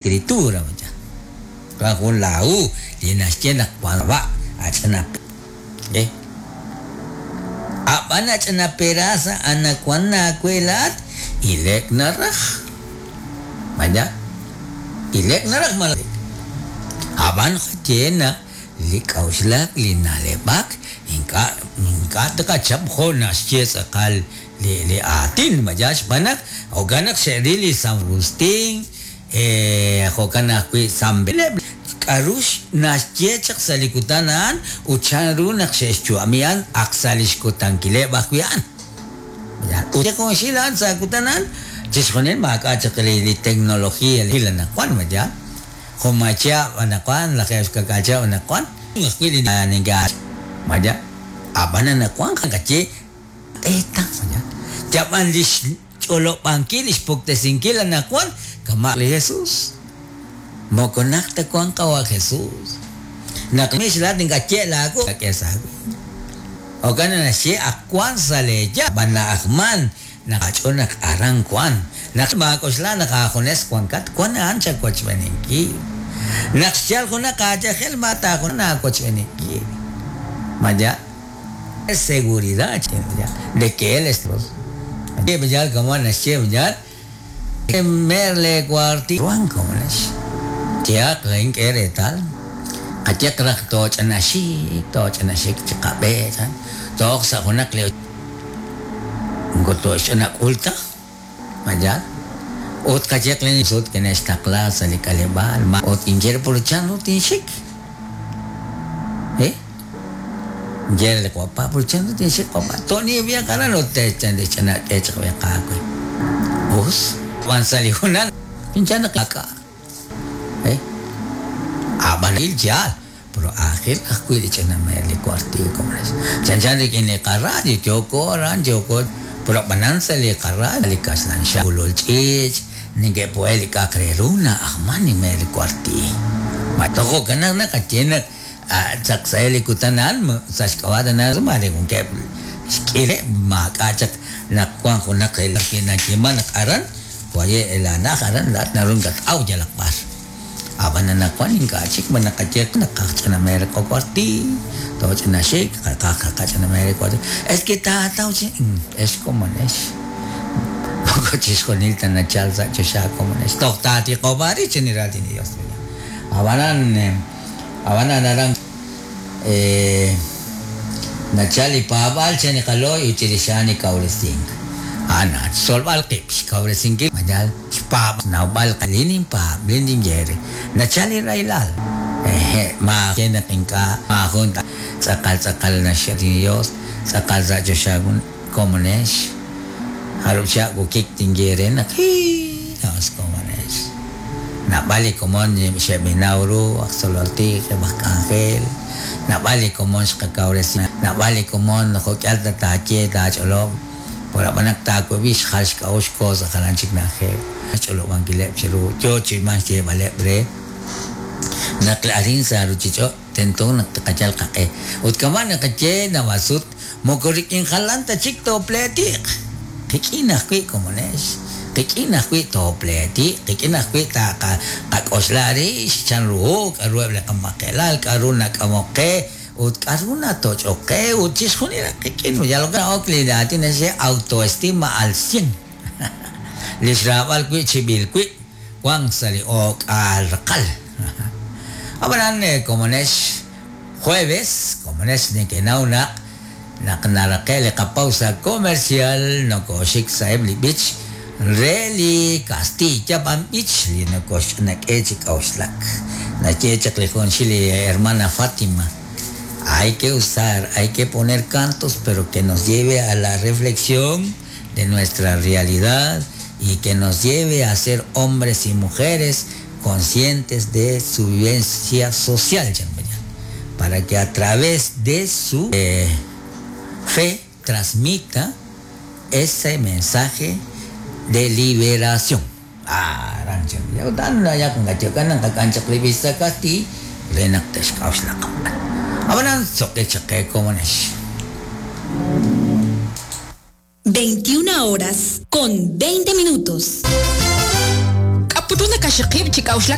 Escritura wan jun laahu li naxye naq wan wa' ach'ana e. A'b'an ach'ana peraasa anaqwan aawe laa'at ile'k naraj. Maya ile'k naraj malaj A'b'an ye naq li k'a'uxlak li na'leb'ak ink'a' ink'a' tqachap jo' naxye tz'aqal li li aatin maya xb'aan naq jo'kan naq xe'ril li San Agustín jo'kan ajwi' San Benito k'a'ru naxye chaq sa' li kutan a'an ut chan ru naq xe'xyu'ami a'an ak sa' li xkutankileb' ajwi' a'an. Ut junxil a'an sa' kutan a'an chixjunil maak'a' chaq li tecnología li anaqwan maya jun may chihab' anaqwan lajeeb' xka'k'aal chihab' anaqwan ajwi' li ninka' maya ab'an anaqwan qaye q'eeta maya yab'an li xch'olob'ankil li xpuktesinkil anaqwan kama' li Jesús moko naq ta wank qawa' Jesús naq mix laa'at ink'a' ye' laawu k'e sa' aawib' jo'kan naq naxye ak wank sa' leeya b'an na'ajman naq aach'ool naq aran wank naq maak'oxla naq aajunes wankat wank a'an chawochb'eeninkil naq xchalk junaq aayajel ma taajun aawochb'eeninkil maya seguridad de que él es Dios. Como naxye merle cuarti wan como nax tiaq ink'e reetal qayeq raj tooch'anaxik tooch'anaxik chi qab'e tooq sa' junaq li moko tooxch'anak'ul ta maya ut qayeq li sut kine'xtaqla sa' li k'aleb'aal ma ut inye pur chan ru tinxik Ye li wapa pur chan ru tinxik wapa to'ni b'ia qaran ut te'xch'anak'e chaq b'ia qaawe us wan sa' li junal inchan naq ak'a ab'an il yaal pero aajel ajwi' li ch'ina mer li cuartil como es chanchan rik'in li qaradio yooko aran yooko pero ab'anan sa' li qaradio li kaxlan xan ulul ch'iich' neke'po'e li k'a'aq re ru na'ajman li mer li cuartil ma toj jo'kan naq naqaye naq chaq sa' li kutan a'an sa' xk'ab'a' tana mare wankeb' xk'ileb' maak'a' chaq naq wank junaq nayeeman naq aran waye' laana'aj aran laa'at naru nakat'aw yalaq b'ar ab'an anaqwan ink'a' chik ma naqaye naqaj ch'ina mer qacuartil tooch'inaxik qaqaj qach'ina mer cuartil es que taataw chi ex komonex moko chixjunil ta nachal sa' choxa komonex toj taatiqob'ari chi ni raatin li Dios ab'anan ab'anan aran nachal li paab'aal chan li qalooy ut chirix a'an li kawresink a'an xtzolb'al qib' xkawresinkil mayal xpaab' nawb'al li ninpaab' li ninye re nachal li rahilal maaye naq ink'a' maajun tz'aqal tz'aqal naxye li Dios tz'aqal sa' choxa komonex jarub' chihab' wukik tinye re naq Dios komonex naab'al li komon xe'b'inaw ru aj tzolol tij eb' aj k'anjel naab'al li komon xqakawresi naab'al li komon jo'k'ihal ta taaye taach'olob' por ab'an naq taawab'i xjal xk'a'uxl xko sa' jalan chik na'ajej xch'olob'ankileb' chiru yo chi man xyeeb'aleb' re naq arin sa' ruchich'och' tento naq tqayal qaq'e ut kama' naqaye naab'al sut moko rik'in jalan ta chik toopleetiq qik'in ajwi' komonex qik'in ajwi' toopleetiq qik'in ajwi' taqak'oxla rix chan ru k'a'ru eb' li qamaqelal k'a'ru nak'amok qe ut k'a'ru natoch'ok qe ut chixjunil qik'in yal ok li aatin naxye autoestima al 100 li xraab'al wi' chib'il wib' wank sa' li o'k'aal raqal ab'anan komonex jueves komonex neke'naw naq naq naraqe' li qapausa comercial nokoxik sa'eb' li b'ich re li Castilla b'an b'ich li nokoxch'anak'e chi k'a'uxlak naye chaq li junxil li hermana Fátima hay que usar, hay que poner cantos pero que nos lleve a la reflexión de nuestra realidad y que nos lleve a ser hombres y mujeres conscientes de su vivencia social, para que a través de su fe transmita ese mensaje de liberación. 21 horas con 20 minutos. K'a' put ru nakaxiqib' chi k'a'uxlak?